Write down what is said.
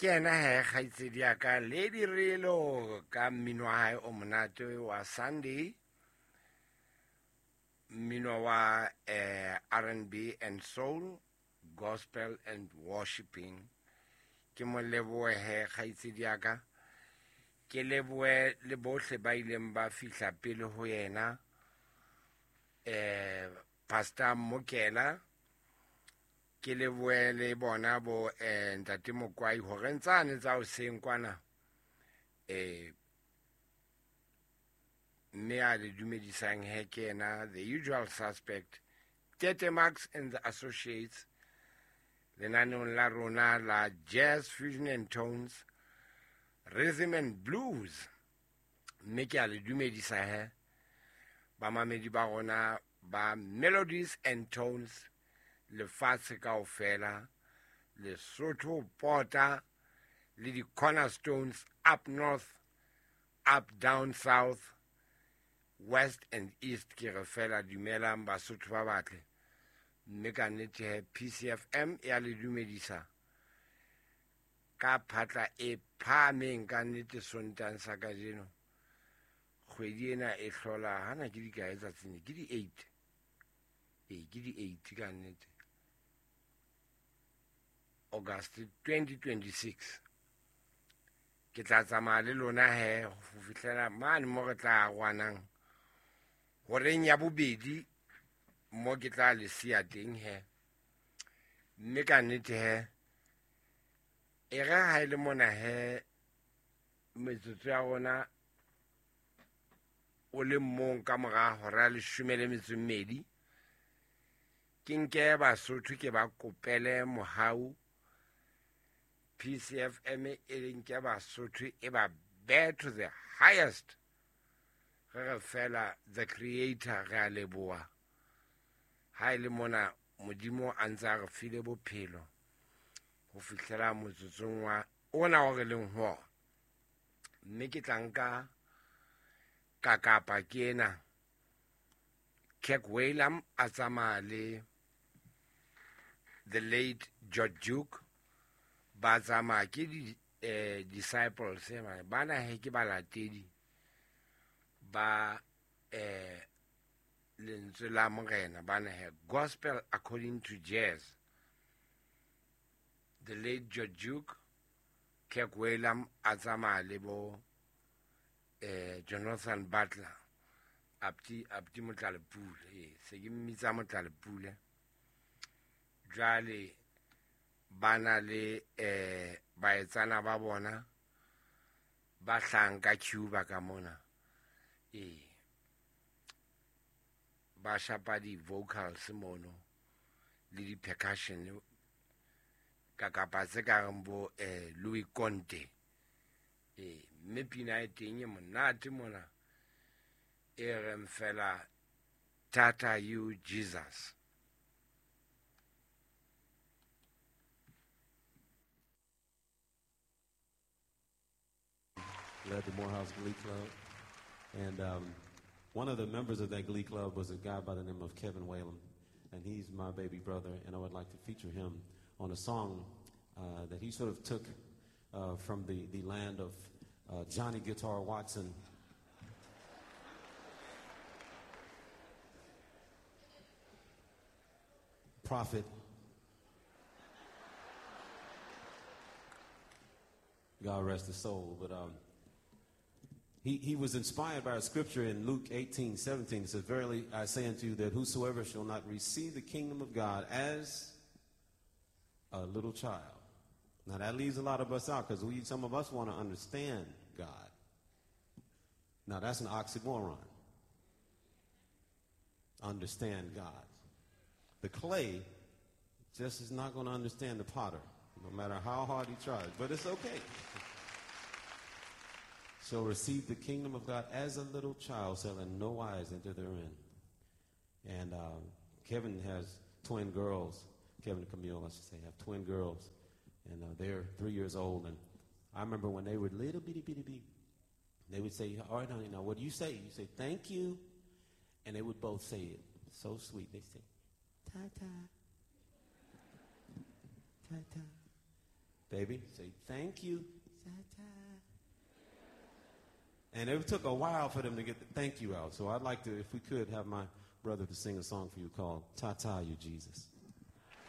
Ke yena he kgaitsedi ya ka Lady Relo ka mmino wa hae o monate wa Sunday, mmino wa R&B and soul, gospel and worshiping. Ke mo lebohe he kgaitsedi ya ka, ke lebohe le bohle ba ileng ba fihla pele ho yena, Pastor Mokela, ke lebohe le bona bo Ntate Mokwai hore ntsane tsa hoseng kwana, mme a le dumedisang he ke yena the usual suspect, Tete Max and the Associates, lenaneong la rona la Jazz Fusion and Tones, Rhythm and Blues. Mme ke a le dumedisa he bamamedi ba rona ba Melodies and Tones lefatshe kaofela, Lesotho pota le di-cornerstones up north, up down south, west and east. Ke re fela dumelang Basotho ba batle, mme ka nnete he PCFM ya le dumedisa ka phatla e phahameng ka nnete Sontang sa kajeno. Kgwedi ena e hlola hana ke dikae tsatsing, ke di-8. Ee, ke di-8 ka nnete, August 2026. Ke tla tsamaya le lona he ho fihlela mane mo re tla arohanang horeng ya bobedi, mo ke tla le siya teng he. Mme ka nnete he e re ha e le mona he metsotso ya rona o le mong ka mora hora ya leshome le metso e mmedi, ke nke Basotho ke ba kopele mohau. PCFM e nke Basotho e ba bear to the highest. Re re fela the creator re a leboha ha e le mona Modimo a ntse a re file bophelo ho fihlela motsotsong wa ona o re leng ho ona. Mme ke tla nka kakapa ke ena Kirk Whalum a tsamaya le the late George Duke, ba tsamaya ke di disciples bana he ke balatedi ba lentswe la Morena, bana he gospel according to jazz. The late George Duke, Kirk Whalum a tsamaya le bo Jonathan Butler, Apti Motlalepule, se ke mmitsa Motlalepule. Jwale ba na le baetsana ba bona ba hlahang ka Cuba ka mona, ba shapa di-vocals mono le di-percussion ka kapa tse ka reng bo Louis Conte. Mme pina e teng e monate mona e reng fela Tata You Jesus. Led the Morehouse Glee Club, and one of the members of that Glee Club was a guy by the name of Kevin Whalum, and he's my baby brother, and I would like to feature him on a song that he sort of took from the land of Johnny Guitar Watson. Prophet. God rest his soul. But he was inspired by a scripture in Luke 18:17. It says, "Verily I say unto you that whosoever shall not receive the kingdom of God as a little child." Now that leaves a lot of us out because some of us want to understand God. Now that's an oxymoron. Understand God. The clay just is not going to understand the potter, no matter how hard he tries, but it's okay. Shall receive the kingdom of God as a little child, shall in no wise enter therein. And Kevin has twin girls. Kevin and Camille, I should say, have twin girls. And they're 3 years old. And I remember when they were little bitty, bitty, bitty, they would say, "All right, honey, now what do you say?" You say, "Thank you." And they would both say it. So sweet. They say, "Ta-ta. Ta-ta." Baby, say thank you. Ta-ta. And it took a while for them to get the thank you out. So I'd like to, if we could, have my brother to sing a song for you called Ta-Ta You Jesus.